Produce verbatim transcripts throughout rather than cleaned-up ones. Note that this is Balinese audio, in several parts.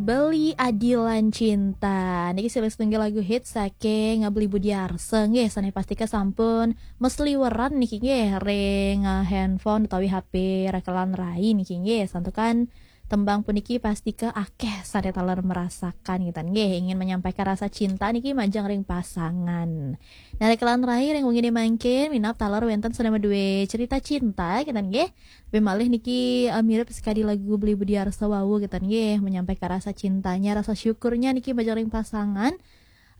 Beli Adilan Cinta. Niki silih setunggal lagu hits saking Beli Budi Arsa nggih, sané pastika sampun mesliweran niki nggih ring, eh, handphone utawi H P rekelan rai niki nggih. Santukan tembang puniki pastika akéh sané taler merasakan gitu nggih, ingin menyampaikan rasa cinta niki majeng ring pasangan. Nah, rekelan rai ring wenginé mangkin minab taler wénten sané madué cerita cinta gitu nggih. Tapi malih niki, eh, mirip sekadi lagu Beli Budi Arsa wau gitu nggih, menyampaikan rasa cintanya, rasa syukurnya niki majeng ring pasangan.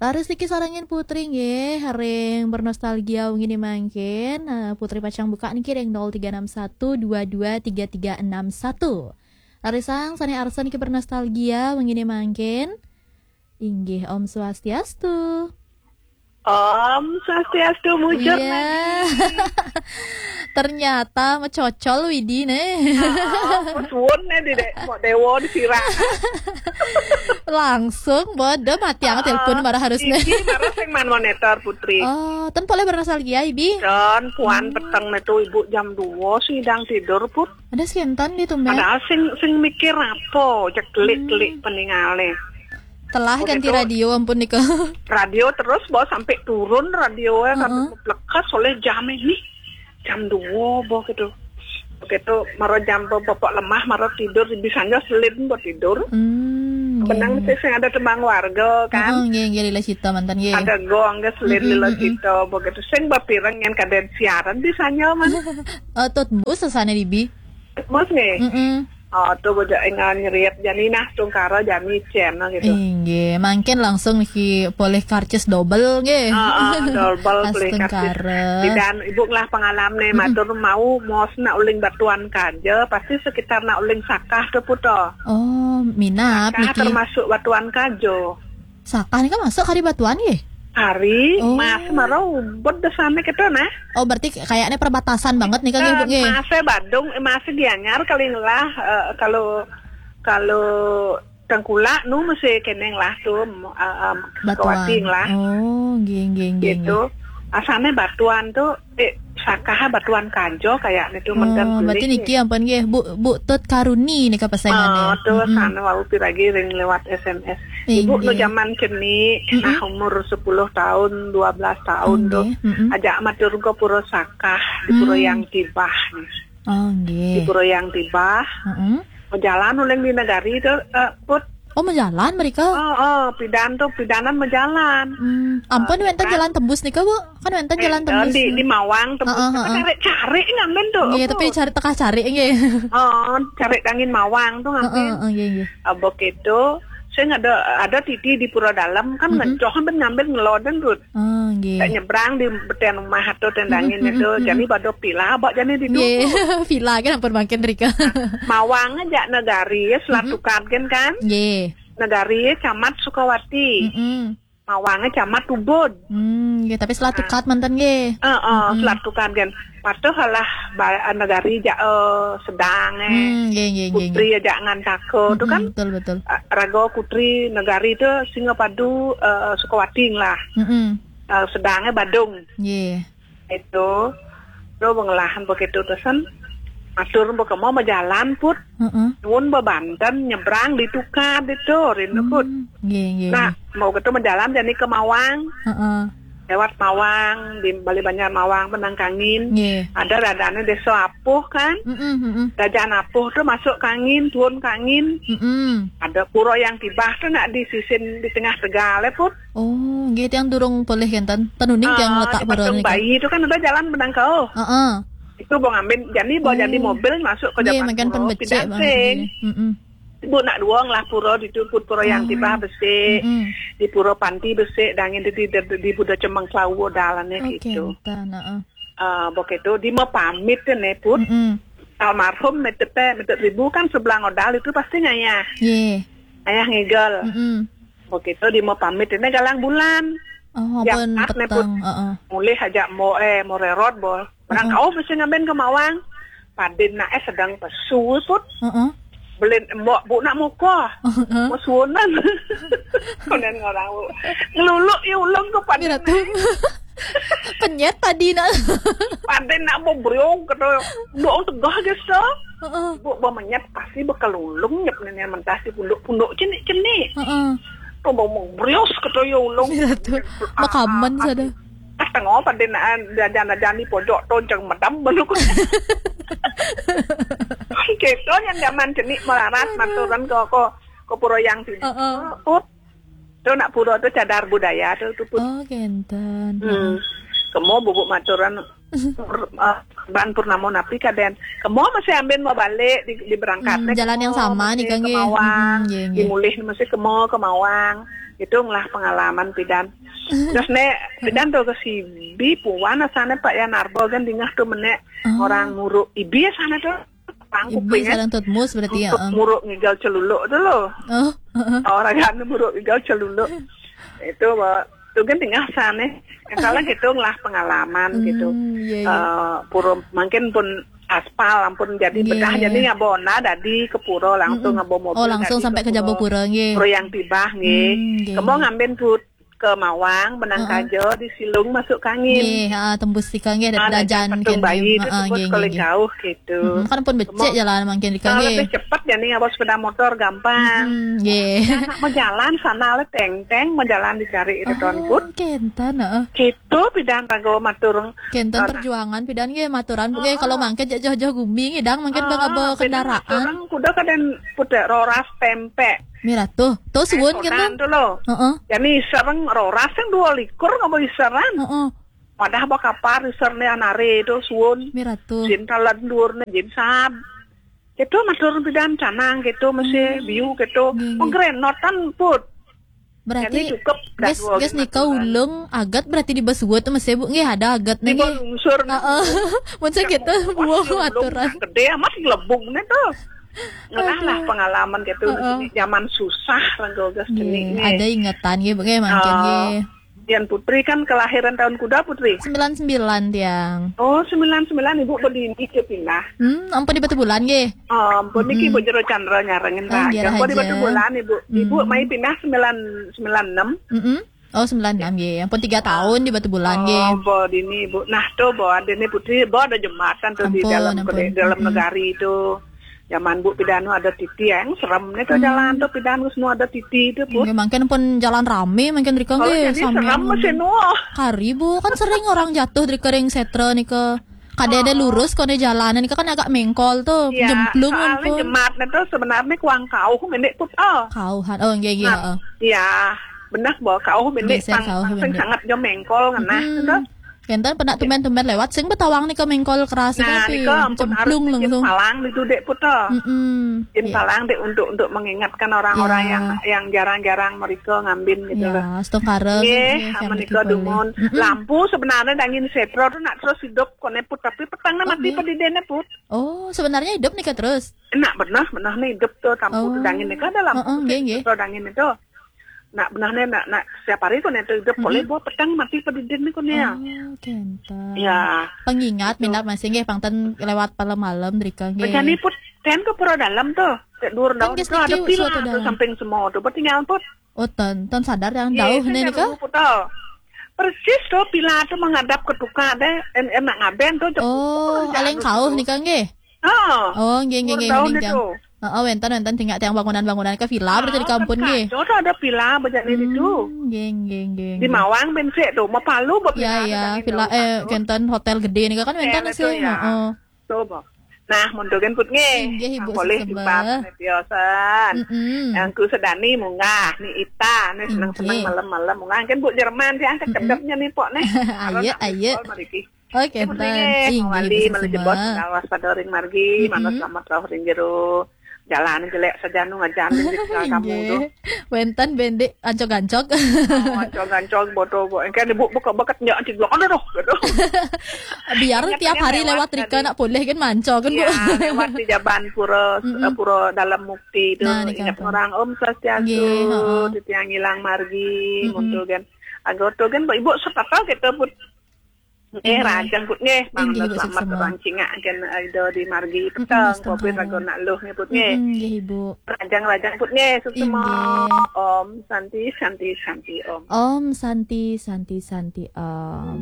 Laris niki sarengin Putri nggih, ring bernostalgia wenginé mangkin. Eh, Putri pacang buka niki ring nol tiga enam satu dua dua tiga tiga enam satu. Laris sang sané arsa niki bernostalgia wenginé mangkin. Inggih, Om Swastiastu. Om Swastiastu, mujur. Iya. Ternyata mecocol Widi né. Ah, suwun né di dek, mau dewo di sirah. Langsung bodo mati ang telepon marah harus né. Iki marah sing man monitor Putri. Oh, ten polih bernostalgia, Ibi? Ten, puan peteng né tuh Ibu jam dua sih dang tidur, Put. Ada sih enten di tumben. Padahal sing, sing mikir apa, ceklik-klik peningalé. Telah ganti radio, ampun nika. Radio terus bawa sampai turun radio ya, sampai melekat oleh jam ini. Jam dua boh gitu. Begitu maro jam bapak lemah, maro tidur, bisa aja selin buat tidur. Hmm, benang nggih, sih sing ada tembang warga kan. Oh, nggih, nggih, lila cita mantan nggih. Ada gong ke selin lila cita, begitu sing bapireng yang kadén siaran bisa aja man. Eh, tut bus sasana dibi. Mas nggih. Mm-mm. Oh, tuh bocah engal nyeriat jani nah tungkara jani cen gitu. Inggih, mangkin langsung niki polih karcis double nggih. Ah, ah, double polih karcis. Tungkara. Dan ibu ngelah pengalaman nih, matur mau mos nak uling batuan kaja, pasti sekitar nak uling sakah tuh puto. Oh, minap sakah niki termasuk batuan kaja. Sakah nika masuk kari batuan nggih? Kari, oh, mas maro ubud desane gitu nah. Oh, berarti kayaknya perbatasan banget nih kan, Ibu, nggih? Masih Badung, eh, masih Gianyar kali lah, eh, kalau, kalau Tengkulak nu masih keneng lah tuh, em, em, batuan. Kawati lah. Oh, nggih, nggih, nggih, gitu. Nggih. Asane batuan tuh, eh, sakah batuan kajo kayaknya tuh. Oh, menten berarti beli niki ampun nggih, Bu, Bu Tut Karuni nika pesengan. Oh, tuh sana wau piragi ring lewat S M S. Ibu nu inggih. Zaman ceni, mm-mm, nah umur sepuluh tahun, dua belas tahun tuh. Nggih, mm-mm. Ajak matur ke Pura Sakah di Pura, mm, Yang Tibah nih. Oh, nggih. Di Pura Yang Tibah. Mm-mm. Jalan uling di negari tuh, eh, Put. Oh, majalan mereka? Oh, oh, pidan tuh, pidanan majalan. Hmm, ampun, eh, wenten kan? Jalan tembus nika, Bu? Kan wenten jalan tembus di, di Mawang tembus. Heeh, heeh. Cari-cari ngambil tuh. Iya, tapi cari tengah cari nggih. Oh, cari angin Mawang tuh ngambil. Heeh, heeh, iya, iya. Abok itu, saya ada, ada titi di Pura Dalam kan, mm-mm, ngejoh kan ngambil ngeloden tuh. Oh, nggih. Kayak nyebrang di beten rumah atau tendangin itu, mm-mm, mm-mm. Jadi pada pila abak jadi di, nggih, duku. Pila kan ampun makin rika. Mawang aja negari ya, Selat, mm-mm, Tukad kan kan? Nggih. Negari ya, Camat Sukawati. Mm-mm. Mawangnya Camat Ubud. Hmm, nggih, tapi Selat, nah, Tukad mantan nggih. Eh, eh, mm-mm. Selat Tukad kan. Patuh lah ba-, negari ja, eh, sedang eh. Hmm, nggih, nggih, nggih, putri nggih. Aja ngan tako tuh kan. Mm-mm, betul, betul. Eh, raga putri negari tuh Singapadu, eh, Sukawati lah. Mm-mm. Eh, sedangnya Badung. Nggih. Itu, lo pengelahan begitu tesen. Matur mbok mau majalan, Put. Heeh. Nuwun bebanten nyebrang di Tukad itu, rindu, Put. Hmm, nggih, nggih, nah, nggih. Mau gitu majalan jadi ke Mawang. Heeh. Lewat Mawang, di Bali Banjar Mawang, Penang Kangin. Nggih. Ada dadane desa Apuh kan? Mm-mm, mm-mm. Dajan Apuh tuh masuk Kangin, turun Kangin. Mm-mm. Ada Pura Yang Tibah tuh nak di sisin di tengah Tegal ya, Put. Oh, nggih, tiang durung polih kenten. Tenuning tiang, ah, letak di Patung Bayi itu kan ada jalan Benangkau. Heeh. Itu mau ngambil, jadi mau jadi, oh, mobil masuk ke, nggih, Japan makan Puro, pen becik pindah banget sing. Nggih. Mm-mm. Ibu nak duong lah pura di Put, Pura Yang, oh, Tibah besik, mm-mm, di Pura Panti besik, dangin di, di, di, di Buda Cemeng Klawu dalane. Oh, gitu. Kenten, heeh. Ah, begitu, di mau pamit ne, Put. Mm-mm. Almarhum Metepe, Metet Ribu kan sebelah ngodal itu pasti ngayah. Nggih. Ayah ngigel. Mm-mm. Begitu di mau pamit ini galang bulan. Oh, ya, ampun, pas ne, Put. Peteng, heeh. Mulih aja mau, eh, mau rerot, bol. Orang, heeh, kau mesti ngambil ke Mawang. Padin nak, eh, sedang pesu, Put. Heeh. Belin embok, Bu, nak muka. Heeh. Mau suunan. Kemudian orang, Bu. Ngeluluk ya ulung ke padin. Ngira tuh. Penyet tadi nak. Padin nak mau beriung, kata, doang tegah gitu. Heeh. Ibu ba menyat pasti ba kalulung nyep nene mentas di punduk-punduk cenik-cenik. Heeh. Tu ba mengbrios keto ya ulung. Mira tu. Makamen sada. Ah, tengok pada nak jajan-jajan di pojok tu jeng medam belum. Kita yang zaman cenik melarat maturan ko ko ko pura yang sini. Heeh. Put. Tu nak pura tu cadar budaya tu tu put. Oh, kenten. Hmm. Kemo bubuk maturan pur, ah, ban purnamo napi kaden. Kemo masih ambin mau balik di, di berangkat. Hmm, jalan yang sama ni kan, nggih. Kemawang. Hmm, nggih, nggih. Dimulih masih kemo Kemawang. Itu ngelah pengalaman pidan. Terus nek pidan tu ke Sibi puan asane Pak Yan Arbo kan dingah tu menek orang muruk ibi asane tu. Pangku ibi sarang tutmus berarti ya. Muruk ngigal celuluk tu lo. Oh, heeh. Orang kan muruk ngigal celuluk. Itu ba tu kan dingah asane. Yang salah gitu ngelah pengalaman gitu. Hmm, iya, iya. Eh, pura mungkin pun aspal ampun jadi bedah jadi ngabona dadi ke pura langsung ngabo mobil. Oh, langsung sampai ke Jabopura nggih. Pura yang tibah nggih. Hmm, nggih. Kemo ngambin put Kemawang benang kaja di Silung masuk kangin. Nggih, ha, tembus tika nggih. Ah, dajan patung bayi tu tembus nggih, nggih, jauh gitu. Hmm, kan pun becek jalan mungkin tika nggih. Lebih cepat jadi ngabo sepeda motor gampang. Hmm, nggih. Anak berjalan sana le teng-teng berjalan dicari itu tuan put. Kenten, heeh. Gitu pidan rago matur. Kenten perjuangan pidan nggih maturan nggih kalau mangkin jak jauh-jauh gumi nggih dang mungkin ba ngaba kendaraan. Orang kuda kaden putek roras tempe. Mira tu. Tu suun kenten tu lo. Heeh. Jadi sarang roras yang dua likur ngaba isaran. Heeh. Wadah ba kapar isar ne anare tu suun. Mira tu. Sin talan dur ne jin sab. Gitu matur pidan canang gitu masih biu gitu. Nggih, nggih. Pengrenotan put. Berarti cukup gas nika ulung agat berarti di basuh tu masih bu nggih ada agat nih. Di nggih. Lungsur. Heeh. Mun saya kita buah aturan. Gede amat gelebung nih tu. Ngelah lah pengalaman gitu. Heeh. Zaman susah renggo gas cenik nih. Ada ingetan nggih bu nggih mungkin nggih. Dian Putri kan kelahiran tahun kuda Putri? Sembilan sembilan tiang. Oh, sembilan sembilan ibu berdini ke pindah. Hmm, ampun di Batu Bulan nggih. Oh, ampun niki ibu Jero Chandra nyarengin raja. Ampun di Batu Bulan ibu. Ibu mai pindah sembilan sembilan enam. Mm-mm. Oh, sembilan enam nggih. Ampun tiga tahun di Batu Bulan nggih. Oh, bo dini ibu. Nah, tu bo ada ni Putri, bo ada jembatan tu di dalam negari tu. Zaman bu pidanu ada titi yang serem ni tu jalan tu pidanu semua ada titi tu pun. Nggih, mungkin pun jalan rame mungkin rika nggih. Jadi serem masih nuo. Kari bu kan sering orang jatuh di kering setra nika. Kada ada lurus kone jalan nika kan agak mengkol tu. Iya, jemplung soalnya ampun. Jemat ni tu sebenarnya kuang kauh mendek put oh. Kauhan. Oh, nggih nggih. Nah, iya, benar bo kauh mendek pang sangat jo mengkol ngenah tu. Kenten pernah tumben-tumben lewat sing betawang nika mengkol keras. Nah, tapi nika ampun harus cemplung langsung. Palang di tu dek putar. Mm-mm. Palang dek untuk untuk mengingatkan orang-orang yang yang jarang-jarang mereka ngambin gitu loh. Ya, setengkara. Nggih, amun nika dumun. Lampu sebenarnya dangin setro tu nak terus hidup kone put tapi petang nak mati pedidene put. Oh, sebenarnya hidup nika terus. Nak benar benar nih hidup tu lampu tu dangin nika ada lampu. Heeh, nggih nggih. Setro dangin itu. Nak benah ne nak nak setiap hari ko ne tu hidup boleh buat petang mati pedidin ni ko ne ya. Oh, kenten. Ya. Pengingat minat masih nggih pangten lewat malam-malam drika nggih. Bejani put ten ke pura dalam tu. Cek dur daun tu ada pila tu samping semua tu. Bertinggal put. Oh, ton ton sadar yang jauh ni ke? Persis tu pila tu menghadap ke tukar deh. En en nak ngaben tu. Oh, aleng kauh ni kan nggih. Ha. Oh, nggih nggih nggih. Heeh, wenten wenten tinggal tiang bangunan-bangunan ke vila berarti di kampung nggih. Kaca tu ada vila bejani di tu. Hmm, nggih nggih nggih. Di Mawang ben sik tu, Mapalu ba vila. Ya ya, vila eh kenten hotel gede ni kan wenten sih. Heeh. Coba. Nah, mun tu kan put nggih. Nggih, Ibu boleh jumpa biasan. Yang ku sedani munggah ni ita ni senang-senang malam-malam munggah kan bu Jerman sih angkat kedepnya ni pok ni. Ayo ayo. Oke, ten. Inggih, mawali malah jebos pengawas pada ring margi, mana selamat rauh ring jero. Jalan jelek saja nu ngajan ring kamu tu. Wenten bendik ancog-ancog. Ancog-ancog bodo bo. Engke ibu buka bakat nyak anci blok. Aduh, aduh. Biar tiap hari lewat rika nak boleh kan mancog kan bu. Ya, lewat di jaban pura pura dalam mukti tu. Ingat orang Om Swastiastu, titiang ilang margi, muncul kan. Anggota kan ibu sepatau kita pun Nggih, rahajeng Put nggih. Mangga selamat rancingak gen Ida di margi peteng, Covid raga nak luh nggih Put nggih. Nggih Ibu. Rahajeng-rahajeng Put nggih, suksma. Om Santi Santi Santi Om. Om Santi Santi Santi Om.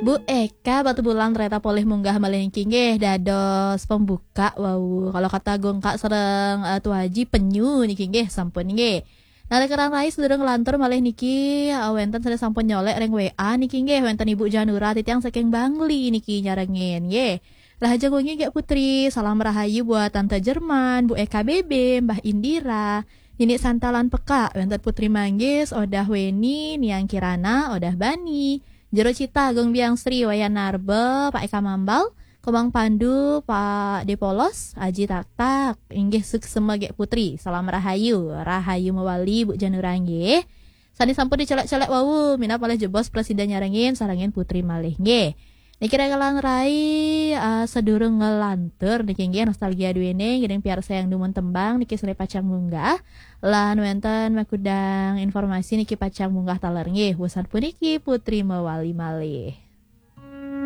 Bu Eka Batubulan ternyata polih munggah malih niki nggih dados pembuka wau. Kalau kata Gongkak sareng uh, Tuaji penyu niki nggih sampun nggih. Nalika rai sedurung lantur malih niki uh, wenten sané sampun nyolek ring W A niki nggih wenten Ibu Janura titiang saking Bangli niki nyarengin nggih. Rahajeng wengi Gek Putri, salam rahayu buat Tante Jerman, Bu Eka B B, Mbah Indira, Nini Santa lan Peka, wenten Putri Manggis, Odah Weni, Niang Kirana, Odah Bani, Jero Cita, Agung Biang Sri, Wayan Narba, Pak Eka Mambal, Komang Pandu, Pak Depolos, Aji Taktak, inggih suksma Gek Putri. Salam rahayu, rahayu mawali Bu Janura nggih. Sané sampun dicelek-celek wau, minab malih jebos presiden nyarengin, sarengin Putri malih nggih. Niki rekalan rai uh, sedurung ngelantur niki nggih nostalgia duwene ngiring piarsa yang dumun tembang niki sore pacang munggah lan wenten makudang informasi niki pacang munggah taler nggih. Wusan puniki Putri mawali malih.